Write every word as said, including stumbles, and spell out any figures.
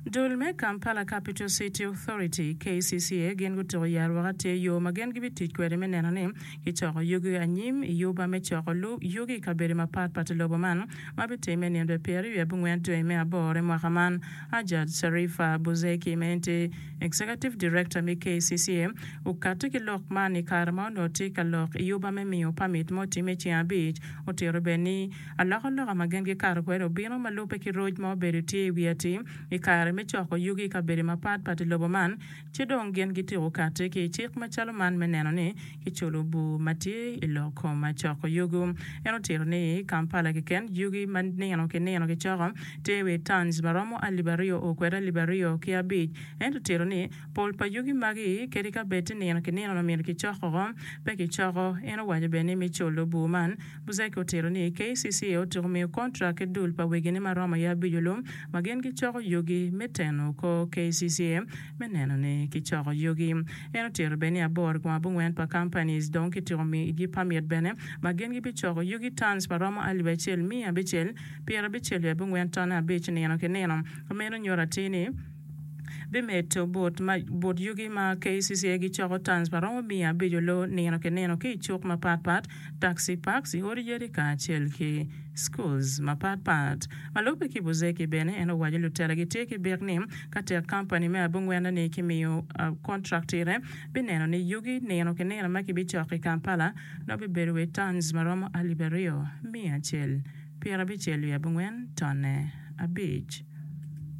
Dul me Kampala Capital City Authority, K C C A, gin gutuko yarwaka tye yo ma gin gibitic kwede me neno ni kicoko yugi anyim i yuba me coko yugi i kabedo mapatpat i lobo man ma bitimme nino pyeraryo wiye abongwen dwe me aboro i mwaka man. Hajat Sharifa Buzeki, ma en tye Executive Director me K C C A, okati ki lok man i kare ma onongo tye ka lok i yuba me miyo pamit ma otimme ceng abic. Otito bene ni alokaloka ma gin gikato kwede obino ma lubbe ki roc ma obedo tye i wi atir i kare me coko yugi i kabedo mapatpat i lobo man, ci dong gin gityeko kati ki i cik macalo man me neno ni kiculo bur ma tye i lok kom coko yugi. En otito ni Kampala keken, yugi ma nino ki nino kicoko tye wi tons ma romo alip aryo o kwede alip aryo ki abic. Ento otito ni pol pa yugi magi, kadi ka bed ti nino ki nino myero kicoko pe kicoko. En owaco bene ni me culo bur man, Buzeki otito ni K C C A otyeko miyo kontrak ki dul pa wegine ma romo i abic olum ma gin gicoko yugi me teno ko K C C A me neno ni kicoko yugi. En otito bene ni aboro kom abongwen pa companies dong kityeko miyogi pamit bene ma gin gibicoko yugi tons ma romo alip acel miya abicel pyerabicel wiye abongwen ton abic nino ki nino. Meno nyuto atir ni bimedo but, but yugi ma K C C A gicoko tons ma romo miya abic olo nino ki nino ki i cuk mapatpat, taxi parks, i odi yadi kacel ki schools mapatpat. Ma lubbe ki Buzeki bene, en owaco lutela gitye ki bik ni ka tek kampani me abongwene ni kimiyo uh, contract ire bineno ni yugi nino ki nino ma kibicoko i Kampala no bibedo wi tons ma romo alip aryo miya acel pyerabicel wiye abongwen tonne abic.